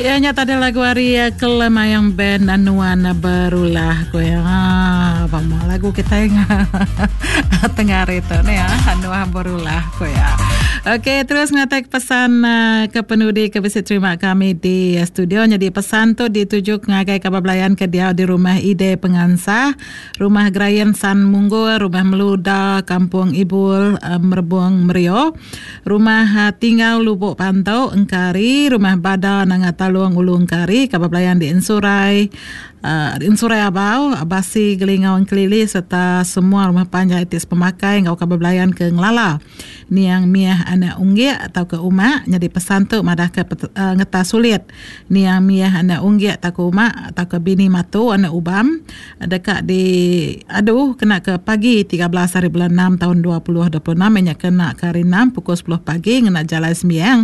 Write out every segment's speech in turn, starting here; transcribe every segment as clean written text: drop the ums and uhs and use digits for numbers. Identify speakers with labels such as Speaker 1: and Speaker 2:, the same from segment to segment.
Speaker 1: Iya nya tadi lagu ari eh, Kelemayang Band Nuan Berulah ku ya. Ha, pama lagu kita yang tengah hari tu ni ya. Nuan Berulah ku ya. Okey, terus ngatai pesan eh, ke penudi ke bisi terima kami di studio. Jadi pesan tu dituju ngagai kaban belayan ke diau di rumah Ide Pengansah, Rumah Gerayan San Munggul, Rumah Meluda, Kampung Ibul, eh, Merebung Merio. Rumah Tingau Lubok Pantu, Engkari, Rumah Bada Nanga Talung Ulu Engkari, Kaban Belayan di Ensurai, Ensurai Abau, Basi Gelingau Engkelili sereta semua rumah panjai ti sepemakai enggau kaban belayan ke ngelala niang Miah anak Unggik tauka Umak nyadi pesan tu madahka ngeta sulit niang Miah anak Unggik tauka Umak tauka bini Matu anak Ubam. Deka di adu kena ke pagi 13 hari bulan 6 taun 2026 iya nya kena ke hari 6 pukul 10 pagi ngena jalai sembiang.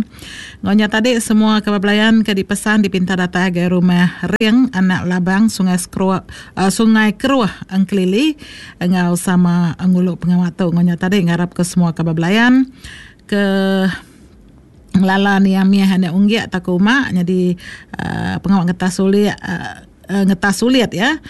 Speaker 1: Enggau nya tadi semua kaban belayan ke dipesan dipinta datai agai rumah Ring anak Labang Sungai Skro uh, Sungai Keruh Engkelili enggau sama ngulu pengawa tu. Enggau nya tadi ngarap ke semua kaban belayan ke ngelala niang mih anak unggik tauka uma nyadi uh, pengawa ngetas ulik uh, ngetas sulit ya.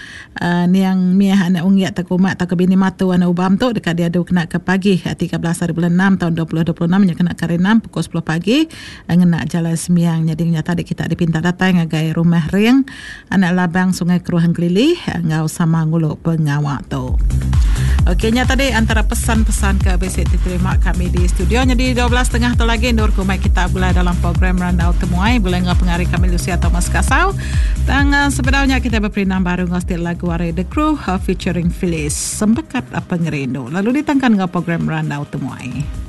Speaker 1: Niang Miah anak Unggik tauka Umak tauka bini Matu anak Ubam tu deka diadu kena ke pagi 13 hari bulan 6 taun 2026 nya kena ke hari 6 pukul 10 pagi ngena jalai sembiang. Nyadi nya tadi kita dipinta datai ngagai Rumah Ring anak Labang Sungai Keruh Engkelili enggau sama ngulu pengawa tu. Okey nya tadi antara pesan-pesan ke bisi diterima kami di studio. Nyadi 12.30 tu lagi endur ku mai kita begulai dalam program Randau Temuai begulai enggau pengari kami Lucia Thomas Kasau. Tang sebedau nya kita beperindang baru enggau siti lagu ari The Crew featuring Phyllis Sempekat Pengerindu. Lalu ditangkan enggau program Randau Temuai.